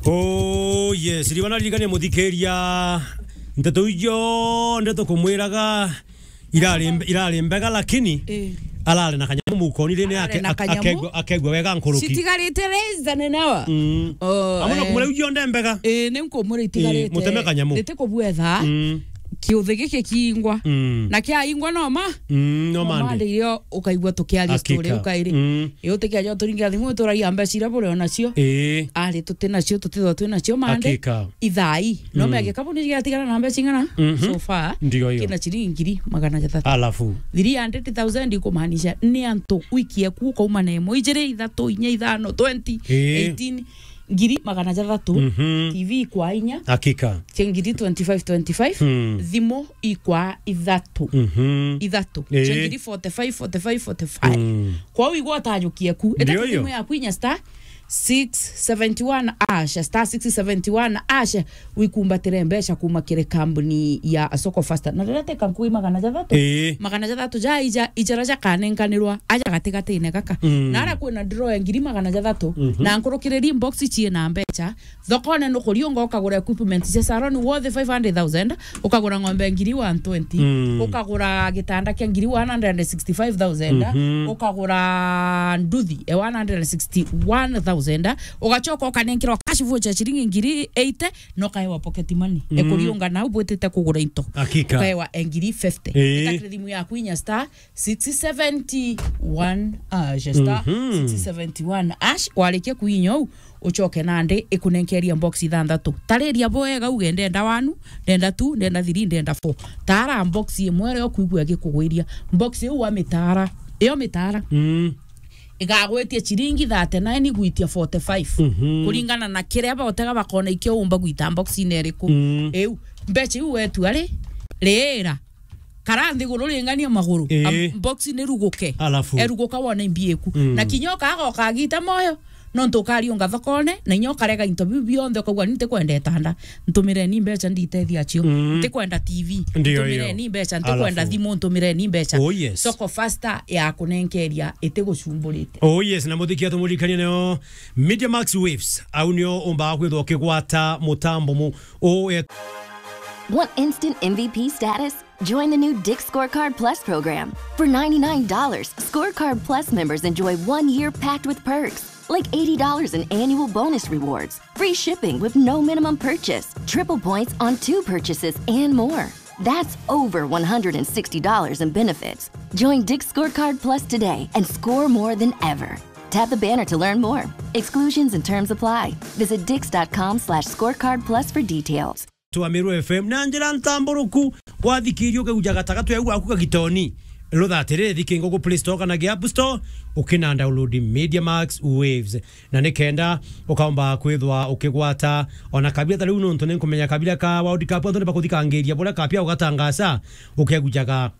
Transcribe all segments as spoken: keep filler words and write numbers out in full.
Oh yes, riwa naririkania muthikiria, nteto ijo ndeto kumwiraga irari mbe-, irari mbega, lakini Eh. arari na kanyamu mukoni rini Arari ake-, na ak-, kanyamu. akegua, akegua wega nkuruki. Citigarite raiza nene wa. Mm. Oh, Amwe no eh. kumwira ijo nde mbega. Eh, ni nkumwira Eh, itigarite. muteme kanyamu. Niti kubwetha. Mm. Kiuthi giki kiingwa. Mm. Na kiaingwa no ma? Mm, no No mande. mande irio ukaigua tukiaria Hakika. story ukairi. Mm. Ii utikiaja uturingira thimu uturagia mbeca iria buri onacio. Ii. Ari tuti nacio, tutithwa twi nacio mande. Hakika. Ithai. No Mm. mege kabu ni giatigara na mbeca ing'ana? Mhm. So far, Ndio hiyo. kina ciringi ngiri magana jathatu. Alafu. Three hundred thousand ikumaanisha ni antu wiki eku ukauma na imwe, ijiri, ithatu, inya, ithano, twenty, Ii. eighteen, ngiri magana jathatu, Mhm. T V kwa inya, Hakika. cia ngiri twenty-five, twenty-five, Hmm. thimu ikwa ithatu. Mhm. Ithatu. Eh. Cia ngiri forty-five, forty-five, forty-five. Mm. Kwou igwa utajukie ku. Ndio Ita hiyo. thimu yaku inya star six seventy one hash, star six seventy one hash, wikumbatire mbeca kuma kiri kambuni ya Soko Fasta. Na riria teka nkui magana jathatu, Eh. magana jathatu ja ija, ijara jakanenkanirwa aja gatigatine gaka. Mm. Na ara kwina draw ya ngiri magana jathatu, Mhm. na nkurukiriri box ciina mbeca, thokone nukuriunga ukagura equipment cia salon worth five hundred thousand, ukagura ng'ombe ngiri one twenty, Mm. ukagura gitanda kia ngiri one hundred and sixty-five thousand, Mhm. ukagura nduthi e one hundred and sixty-one thousand, ugacoka ukanenkerwa cash voucher ciringi ngiri eighty, no kaewa pocket money. Mm. Ekuriunga nau bwitite kugura into. Hakika. Ukaewa e ngiri fifty. Ii. Itakire thimu yaku inya star six seventy one hash, star Mhm. six seventy one hash, warikia kuinya uu, ucoke nandi ikunenkeria box ithanthatu. Tariria bwega uge, ndenda one, ndenda two, ndenda three, ndenda four. Tara box imwe iria ukwigua gikugwiria. Box iu wamitara, iyo mitara. Mm. Igagwitia ciringi thirty-nine gwitia forty-five. Mhm. Kuringana na kiria bautega bakona ikio umba gwita box-ini iriku. Mm. Iu, mbeca iu wetua ri, riira. Kara nthiguru ringania maguru. Ii. Am-, box ni ruguke. Alafu. Eruguka wone imbi iku. Mm. Na kinya ukaga ukagita moyo, nontu ukariunga thokone, na inya ukarega into biu bionthe, ukauga, "Ni ntikwenda itanda, ntumireni mbeca nditethia acio. Mm. Ntikwenda T V, Ndio hiyo. ntumireni mbeca, ntikwenda Alafu. thimu, ntumireni mbeca." Oh, yes. Soko Fasta ya kunenkeria itigucumburite. Oh, yes, na muthikia tumuririkanie nio Media Max Waves. Au nio umbaga kwithwa ukigwata mutambo mu-, u-, e- Want instant M V P status? Join the new Dick's Scorecard Plus program. For ninety-nine dollars, Scorecard Plus members enjoy one year packed with perks, like eighty dollars in annual bonus rewards, free shipping with no minimum purchase, triple points on two purchases, and more. That's over one hundred and sixty dollars in benefits. Join Dick's Scorecard Plus today and score more than ever. Tap the banner to learn more. Exclusions and terms apply. Visit dix dot com slash scorecard plus for details. Twa Meru F M na njira ntamburuku, wathikiria ukauja gatagatu ya gwaku kagitoni. Rutha atiri, thikinga gu Play Store kana gi App Store, ukina download Media Max Waves. Na nikenda ukaomba kwithwa ukigwata ona kabira ta riu, nontu ni nkumenya kabira ka World Cup, antu ni bakuthikangiriria buria kapia ugatangaca, ukegujaga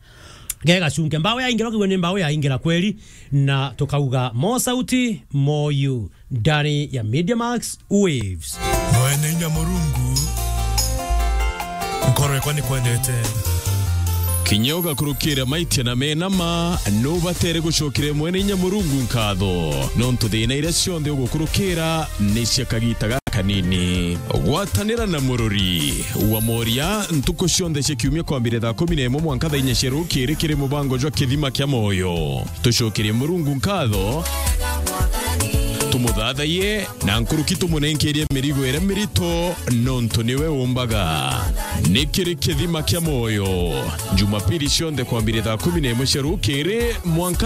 gegacunke. Mbao yaingira, ukigua ni mbao yaingira kweri, na tukauga mo sauti, mo you, ndani ya Media Max Waves. Mwene inya Murungu, nkoro yakwa ni kwendete. Kinya ugakurukira maitia na mena ma, nubatere gucokera Mwene inya Murungu nkatho, nontu thina iria cionthe ugukurukira ni cia kagita gakanini. Gwatanira na Murori wa Moria ntuku cionthe cia kiumia kwambire thaa kumi na imwe mwanka thaa inya cia rukiri kiri mubango jwa Kithima kia Moyo. Tucokerie Murungu nkatho, tumuthathaiye, na nkuruki tumunenkerie mirigo iria mirito, nontu niwe umbaga. Ni kiri Kithima kia Moyo, Jumapili cionthe kwambire thaa kumi na imwe cia rukiri mwanka